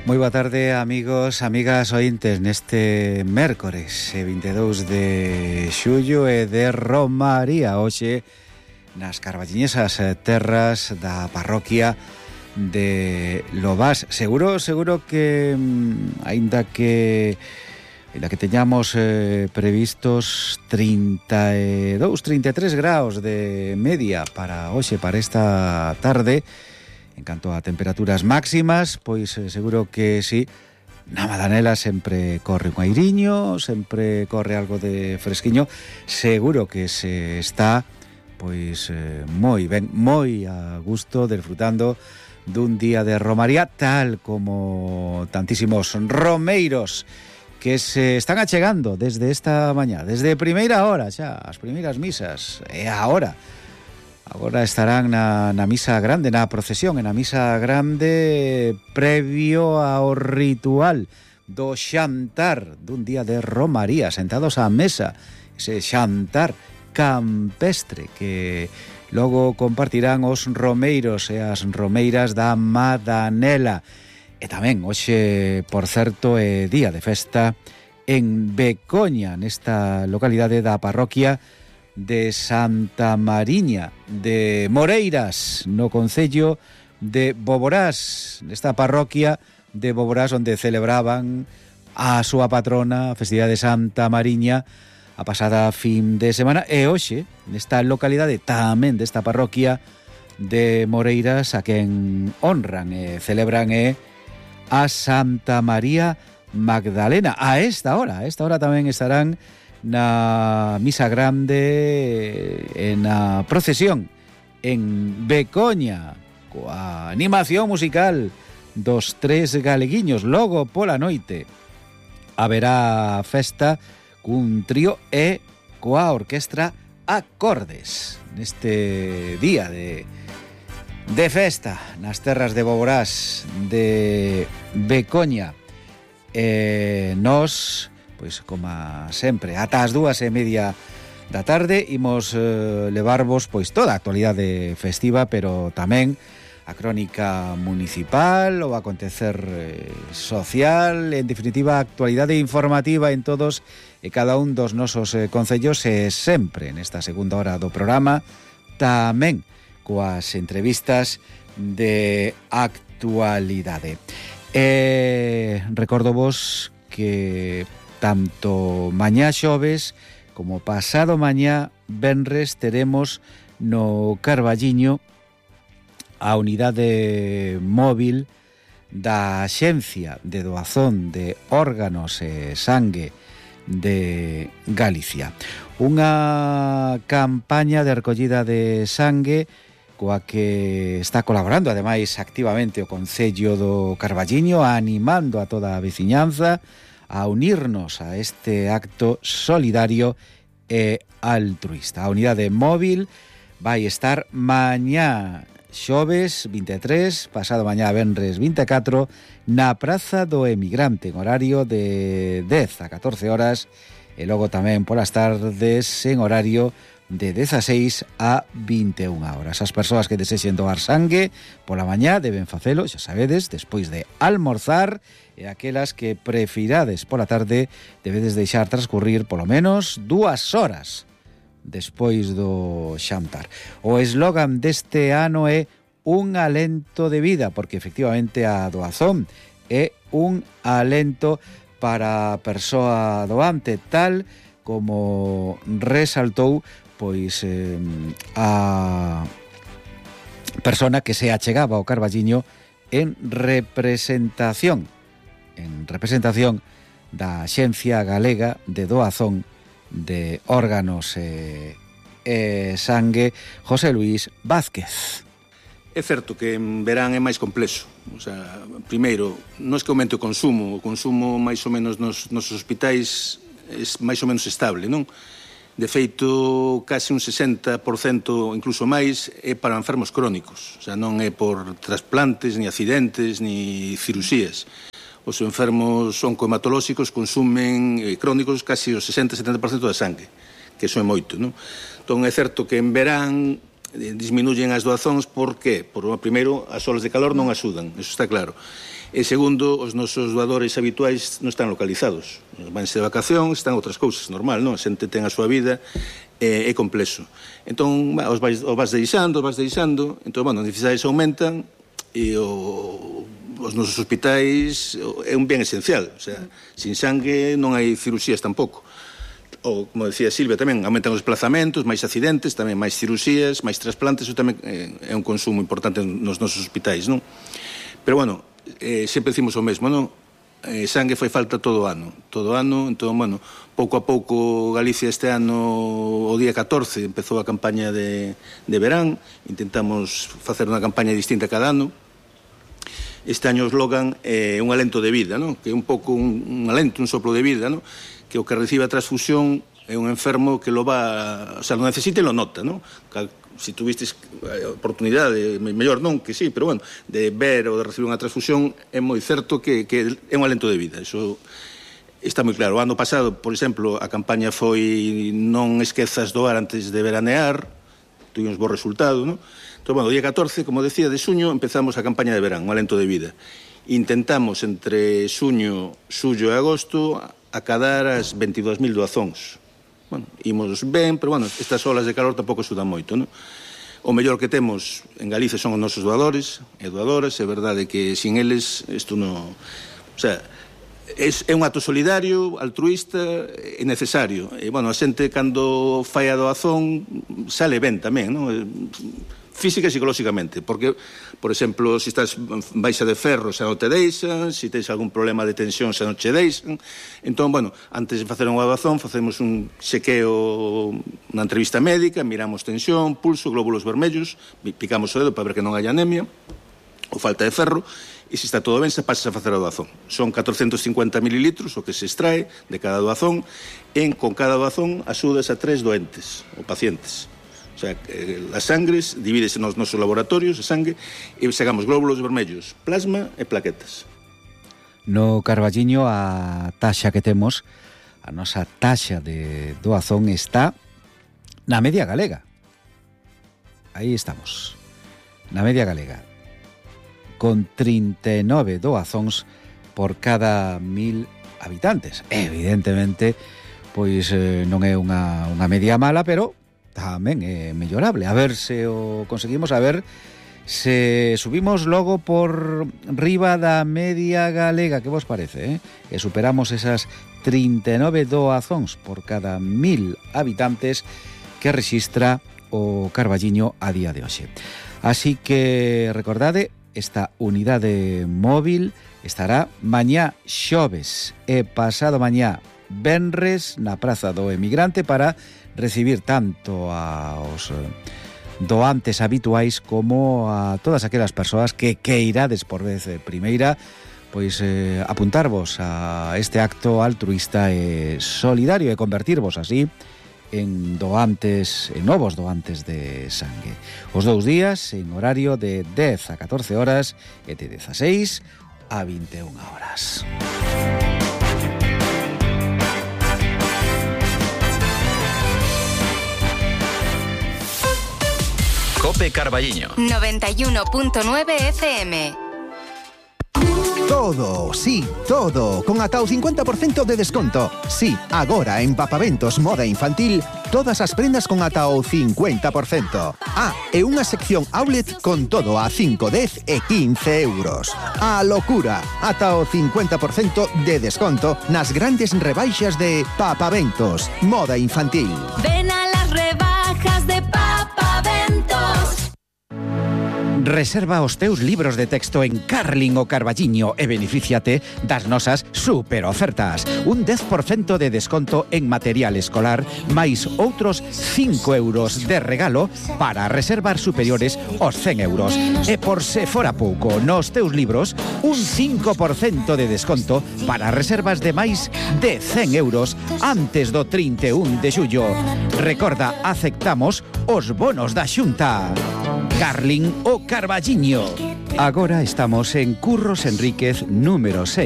Moi boa tarde, amigos, amigas ointes, neste mércores 22 de xullo e de Romaría, hoxe nas carballiñesas terras da parroquia de Lobás. Seguro que aínda que teñamos previstos 32, 33 graus de media para hoxe, para esta tarde. En canto a temperaturas máximas, pois seguro que sí, na Madanela sempre corre un airiño, sempre corre algo de fresquiño. Seguro que se está pois moi ben, moi a gusto, disfrutando dun día de romaría, tal como tantísimos romeiros que se están achegando desde esta mañá, desde primeira hora xa, as primeiras misas, e agora estarán na misa grande, na procesión, na misa grande previo ao ritual do xantar dun día de romaría, sentados á mesa, ese xantar campestre que logo compartirán os romeiros e as romeiras da Madanela. E tamén hoxe, por certo, é día de festa en Becoña, nesta localidade da parroquia de Santa Mariña de Moreiras, no concello de Boborás, nesta parroquia de Boborás, onde celebraban a súa patrona, a festividade de Santa Mariña, a pasada fin de semana. E hoxe, nesta localidade tamén desta parroquia de Moreiras, a quen honran e celebran a Santa María Magdalena. A esta hora tamén estarán na misa grande e na procesión en Becoña, coa animación musical dos tres galeguiños. Logo pola noite haberá festa cun trío e coa orquestra Acordes neste día de festa nas terras de Boborás de Becoña. Nos, pois, como sempre, ata as 2:30 da tarde imos levarvos pois toda a actualidade festiva, pero tamén a crónica municipal, o acontecer social, en definitiva, a actualidade informativa en todos e cada un dos nosos concellos, e sempre nesta segunda hora do programa tamén coas entrevistas de actualidade. Recordovos que tanto mañá xoves como pasado mañá venres teremos no Carballiño a unidade móvil da Axencia de Doazón de Órganos e Sangue de Galicia. Unha campaña de recollida de sangue coa que está colaborando ademais activamente o Concello do Carballiño, animando a toda a veciñanza a unirnos a este acto solidario e altruista. A unidade móvil vai estar mañá xoves 23, pasado mañá venres 24, na Praza do Emigrante, en horario de 10 a 14 horas, e logo tamén polas tardes en horario de 16 a 21 horas. As persoas que desexen doar sangue pola mañá deben facelo, xa sabedes, despois de almorzar, e aquelas que prefirades pola tarde debedes deixar transcurrir polo menos 2 horas despois do xantar. O eslogan deste ano é un alento de vida, porque efectivamente a doazón é un alento para a persoa doante, tal como resaltou pois a persona que se achegaba ao Carballiño en representación da Axencia Galega de Doazón de Órganos e Sangue, José Luís Vázquez. É certo que en verán é máis complexo. O sea, primeiro, non é que aumente o consumo máis ou menos nos hospitais é máis ou menos estable, non? De feito, case un 60%, incluso máis, é para enfermos crónicos. O sea, non é por trasplantes, ni accidentes, ni cirusías. Os enfermos oncohematolóxicos consumen crónicos casi o 60-70% da sangue, que iso é moito, non? Entón é certo que en verán disminuyen as doazóns. Por qué? Primeiro, as olas de calor non axudan, eso está claro. E segundo, os nosos doadores habituais non están localizados. Vanse de vacacións, están outras cousas, normal, non? A xente ten a súa vida, é complexo. Entón, os vas deixando, entón, bueno, as necesidades aumentan e os nosos hospitais é un bien esencial. O sea, sin sangue non hai cirurxías tampouco. Ou, como decía Silvia, tamén aumentan os desplazamentos, máis accidentes, tamén máis cirurxías, máis trasplantes, eso tamén é un consumo importante nos nosos hospitais, non? Pero, bueno, sempre decimos o mesmo, non? Sangue fai falta todo o ano, entón, bueno, pouco a pouco Galicia este ano, o día 14, empezou a campaña de verán, intentamos facer unha campaña distinta cada ano. Este año o slogan é un alento de vida, non? Que é un pouco un alento, un soplo de vida, non? Que o que recibe a transfusión é un enfermo que lo va, o sea, lo necesita e lo nota, non? Se tuvistes oportunidade, mellor non, que sí, pero bueno, de ver ou de recibir unha transfusión, é moi certo que é un alento de vida. Iso está moi claro. O ano pasado, por exemplo, a campaña foi non esquezas doar antes de veranear, tuvimos bo resultado, non? Entón, bueno, o día 14, como decía, de xuño, empezamos a campaña de verán, un alento de vida. Intentamos entre xuño, xullo e agosto acadar as 22.000 doazóns. Bueno, imos ben, pero, bueno, estas olas de calor tampouco axudan moito, non? O mellor que temos en Galicia son os nosos doadores e doadoras, é verdade que sin eles isto non... O sea, é un acto solidario, altruista e necesario. E, bueno, a xente cando fai a doazón sale ben tamén, non? Física e psicolóxicamente, porque, por exemplo, se estás baixa de ferro xa non te deixan, se tens algún problema de tensión xa non che deixan. Entón, bueno, antes de facer unha doazón facemos un chequeo, unha entrevista médica, miramos tensión, pulso, glóbulos vermellos, picamos o dedo para ver que non hai anemia ou falta de ferro, e se está todo ben, se pasa a facer a doazón. Son 450 mililitros o que se extrae de cada doazón, e con cada doazón axudas a 3 doentes ou pacientes. O sea, as sangres divídese nos nosos laboratorios de sangue e sacamos glóbulos vermellos, plasma e plaquetas. No Carballiño a taxa que temos, a nosa taxa de doazón está na media galega. Aí estamos, na media galega, con 39 doazóns por cada 1.000 habitantes. Evidentemente, pois non é unha media mala, pero tamén é mellorable. A ver se o conseguimos, a ver se subimos logo por riba da media galega. Que vos parece, que superamos esas 39 doazóns por cada 1.000 habitantes que rexistra o Carballiño a día de hoxe. Así que recordade, esta unidade móvil estará mañá xoves e pasado mañá venres na Praza do Emigrante para recibir tanto aos doantes habituais como a todas aquelas persoas que queirades por vez primeira pois apuntarvos a este acto altruista e solidario e convertirvos así en doantes, en novos doantes de sangue. Os 2 días en horario de 10 a 14 horas e de 16 a 21 horas. Cope Carballiño 91.9 FM. Todo, sí, todo, con ata o 50% de desconto. Sí, agora en Papaventos Moda Infantil, todas as prendas con ata o 50%. E unha sección outlet con todo a 5, 10 e 15 euros. A locura, ata o 50% de desconto nas grandes rebaixas de Papaventos Moda Infantil. Ven a las rebajas de Papaventos. Reserva os teus libros de texto en Carling o Carballiño e benefíciate das nosas super ofertas. Un 10% de desconto en material escolar, máis outros 5 euros de regalo para reservar superiores aos 100 euros. E por se fora pouco, nos teus libros, un 5% de desconto para reservas de máis de 100 euros antes do 31 de xullo. Recorda, aceptamos os bonos da Xunta. Carling o Carballiño. Agora estamos en Curros Enríquez número 6.